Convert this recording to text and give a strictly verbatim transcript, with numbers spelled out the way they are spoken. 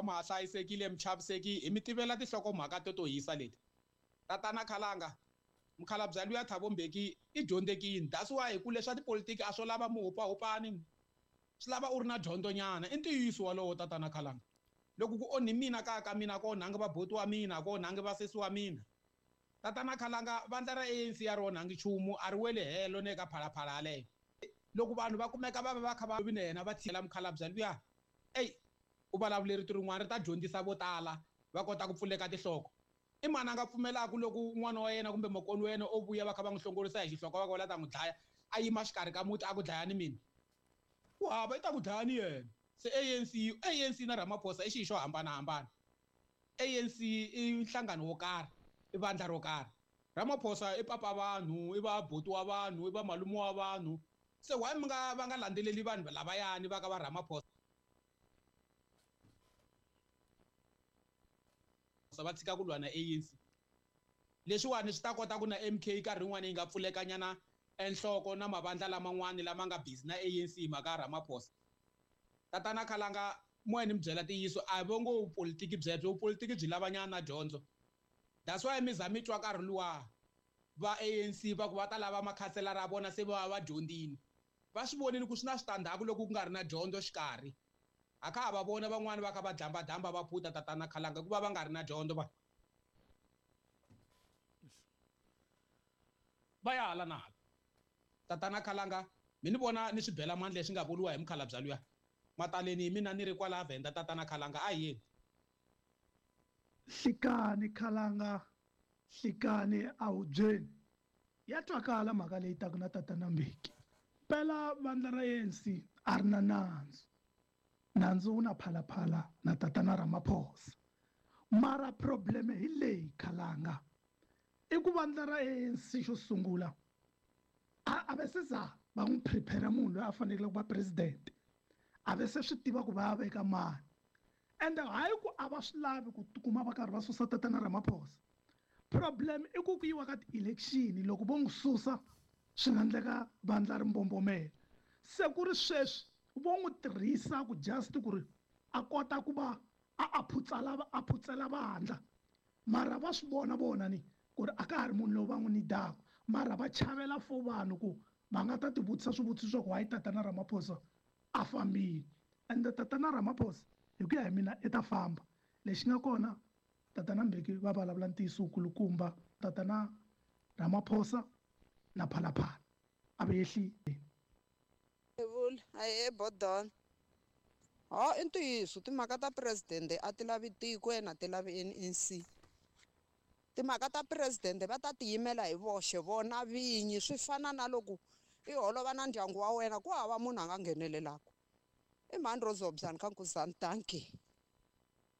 Ma hlayisekile michaviseki hi mi tivela tinhlokomhaka to to hisa leti. Tatana Khalanga, mukhalabye luya Thabo Mbeki i dyondzekile. That's why hi ku leswa tipolitiki a swo lava muhupahupani, swi lava u ri na dyondzo nyana. I ntiyiso wolowo tatana Khalanga. Loko ku onhi mina kaya ka mina ko onhangi vabuti wa mina, ko onhangi vasesi wa mina. Tatana Khalanga, vandla ra A N C ya ri onhangi nchumu, a ri weli helo ne ka phalaphala yaleyo. Loko vanhu va kumeka va va va kha va vi na yena va tshila mukhalabye luya, ey, u vulavule rito rin'wana ri ta dyondzisa vo tala va kota ku pfuleka tinhloko. I mani a nga pfumelaka loko n'wana wa yena kumbe makoni wa yena o vuya va kha va n'wi hlongorisa hi xihloko va ku va la ta n'wi dlaya, a yima xikarhi ka muti a ku dlaya ni mina? Ku hava, i ta ku dlaya ni yena. Se A N C, A N C na Ramaphosa i xilo xo hambanahambana. A N C i nhlangano wo karhi, i vandla ro karhi. Ramaphosa i papa vanhu, i va buti wa vanhu, i va malume wa vanhu. Se why mi nga va nga landzeleli vanhu lavayani va ka va Ramaphosa? Va tshika ku lwa na A N C. Leswiwani swi ta kota ku na M K nkarhi wun'wani yi nga pfulekanyana enhloko na mavandla laman'wani lama nga busy na A N C hi mhaka ya Ramaphosa. Tatana Khalanga, moya ni mi byela ntiyiso, a vo ngo vupolitiki byebyo, vupolitiki byi lavanyana na dyondzo. That's why mi za mi twa nkarhi luwa va A N C va ku va ta lava makhanselara ya vona se va va dyondzile. Va swi vonile ku swi na switandzhaku loko ku nga ri na dyondzo xikarhi. A kha ha va vona van'wani va kha va dlambadlamba va phuta tatana Khalanga hikuva va nga ri na dyondzo va. Va ya hala na hala. Tatana Khalanga, mi ni vona ni swi bela mandla leswi nga vuriwa hi mukhalabye luya. Mataleni hi mina ni ri kwala Venda tatana Khalanga, a hi yeni. Hlikani Khalanga, hlikani a wu byeni. Ya twakala mhaka leyi taka na tatana Mbeki. Phela vandla ra A N C a ri na nandzu. Nandzu wu na phalaphala na tatana Ramaphosa. Mara problem hi leyi Khalanga. I ku vandla ra A N C xo sungula a, a va se za va n'wi prepare munhu loyi a faneleke ku va president. A va se swi tiva ku va ya veka mani. Ende hayi ku a va swi lavi ku tikuma va karhi va susa tatana Ramaphosa. Problem i ku ku yiwa ka ti-election loko vo n'wi susa swi nga endleka vandla ri mbombomela. Se ku ri sweswi vo n'wi tirhisa ku just ku ri a kota ku va a, a phutsala, a phutsela vandla. Mara va swi vona vona ni ku ri a ka ha ri munhu lowu va n'wi nidaka. Mara va chavela for vanhu ku va nga ta tivutisa swivutiso swa ku why tatana Ramaphosa a fambile. Ende tatana Ramaphosa hi ku ya hi mina i ta famba. Lexi nga kona tatana Mbeki va vulavula ntiyiso wukulukumba, tatana Ramaphosa na Phalaphala a va yehli. Vula, ahee Bodon. Ha, i ntiyiso timhaka ta president a ti lavi tiko ena ti lavi N N C. Timhaka ta president va ta tiyimela hi voxe vona vinyi, swi fana na loko i holova na ndyangu wa wena ku hava munhu a nga nghenelelaka. I mhani Rose Hobson ka Nkuzani, thank you.